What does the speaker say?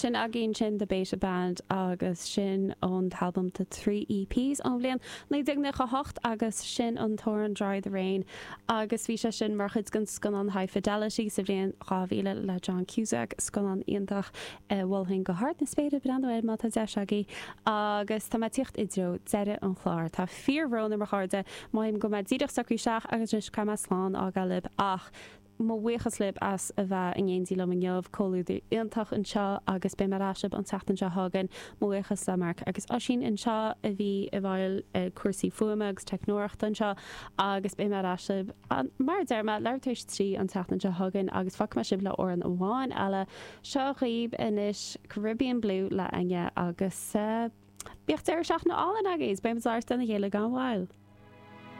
Sin againn sin The Beta Band agus sin ón t-albam The 3 EPs ón bhliain 1998 agus sin an t-amhrán Dry the Rain agus bhí sé sin mar chuid den scannán High Fidelity sa bhliain 2000 le John Cusack, scannán iontach a mholfainn go hard na spéire breathnú air má tá deis agaibh. Agus tá mé ag tíocht i dtreo deireadh an chláir. Tá fíorbhrón orm a chairde, mothaím go bhfuil mé díreach socraithe isteach agus anois caithfidh mé slán a fhágáil libh ach Mo bhuíochas libh as a bheith in éindí liom inniu, comhluadar iontach anseo agus beidh mé ar ais libh an tseachtain seo chugainn. Mo bhuíochas le Mark agus Oisín anseo a bhí i bhfeighil cúrsaí fuaime agus teicneoireachta anseo agus beidh mé ar ais libh, mar a deir mé, leathuair tar éis 3 an tseachtain seo chugainn agus fágfaidh mé sibh le amhrán amháin eile. Seo dhaoibh anois Caribbean Blue le Enya agus bíodh deireadh seachtaine álainn agaibh is beidh muid ag labhairt lena chéile gan mhoill.